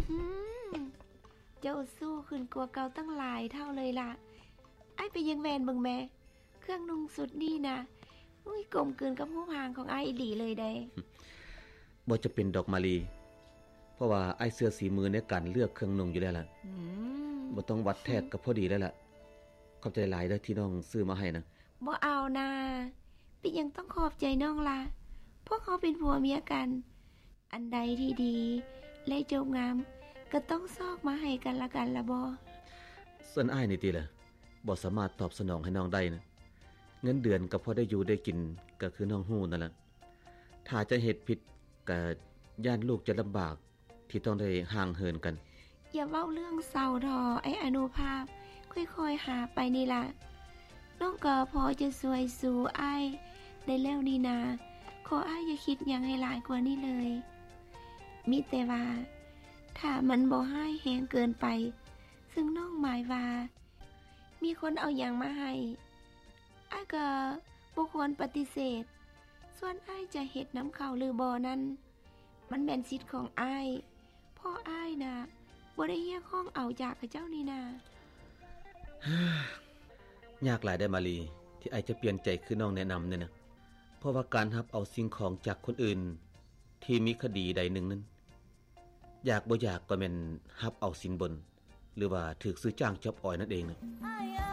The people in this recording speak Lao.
ອືມ ເຈົ້າຊູ້ຂຶ້ນກວ່າເກົ່າຕັ້ງຫຼາຍເທົ່າເລີຍລະ. ອ້າຍໄປຢາກແວ່ນເບິ່ງແມ້ ເຄື່ອງນຸ່ງຊຸດນີ້ນະ ອຸ້ຍ ກົມກືນກັບຮູບຮ່າງຂອງອ້າຍອີ່ຫຼີເລີຍເດ້. ບໍ່ຈຳເປັນດອກມາລີ ເພາະວ່າອ້າຍເຊື່ອສີມືໃນການເລືອກເຄື່ອງນຸ່ງຢູ່ແລ້ວລະ. ອືມ ບໍ່ຕ້ອງວັດແທກກໍພໍດີແລ້ວລະ. ຂອບໃຈຫຼາຍເດີ້ທີ່ນ້ອງຊື້ມາໃຫ້ນະ. ບໍ່ເອົານາ. ເປັນຫຍັງຕ້ອງຂອບໃຈນ້ອງລະ? ພວກເຮົາເປັນຜົວເມຍກັນ ອັນໃດທີ່ດີ ແລະຈົບງາມ ກໍຕ້ອງຊອກມາໃຫ້ກັນລະກັນລະບໍ? ສ່ວນອ້າຍນີ້ຕິລະ ບໍ່ສາມາດຕອບສະໜອງໃຫ້ນ້ອງໄດ້ນະ. ເງິນເດືອນກໍພໍໄດ້ຢູ່ໄດ້ກິນ ກໍຄືນ້ອງຮູ້ນັ້ນລະ. ຖ້າຈະເຮັດຜິດ ກໍຢ້ານລູກຈະລຳບາກ ທີ່ຕ້ອງໄດ້ຫ່າງເຫີນກັນ. ຢ່າເວົ້າເລື່ອງເສົ້າເຖາະ ອ້າຍອະນຸພາບ, ຄ່ອຍໆຫາໄປນີ້ລະ. ນ້ອງກໍພໍຈະຊ່ວຍຊູອ້າຍໄດ້ແລ້ວນີ້ນາ. ຂໍອ້າຍຢ່າຄິດຫຍັງໃຫ້ຫຼາຍກວ່ານີ້ເລີຍ. ມີແຕ່ວ່າ ຖ້າມັນບໍ່ຮ້າຍແຮງເກີນໄປ, ເຊິ່ງນ້ອງໝາຍວ່າ ມີຄົນເອົາຫຍັງມາໃຫ້, ອ້າຍກໍບໍ່ຄວນປະຕິເສດ. ສ່ວນອ້າຍຈະເຮັດນຳເຂົາຫຼືບໍ່ນັ້ນ, ມັນແມ່ນສິດຂອງອ້າຍ, ເພາະອ້າຍນະ ບໍ່ໄດ້ຮຽກຮ້ອງເອົາຈາກເຂົາເຈົ້ານີ້ນາ. ຍາກຫຼາຍເດ້ມາລີ ທີ່ອ້າຍຈະປ່ຽນໃຈຄືນ້ອງແນະນຳນີ້ນະ. ເພາະວ່າການຮັບເອົາສິ່ງຂອງຈາກຄົນອື່ນທີ່ມີຄະດີໃດໜຶ່ງນັ້ນ, ຢາກບໍ່ຢາກກໍແມ່ນຮັບເອົາສິນບົນ ຫຼືວ່າຖືກຊື້ຈ້າງຈອບອອຍນັ້ນເອງນະ.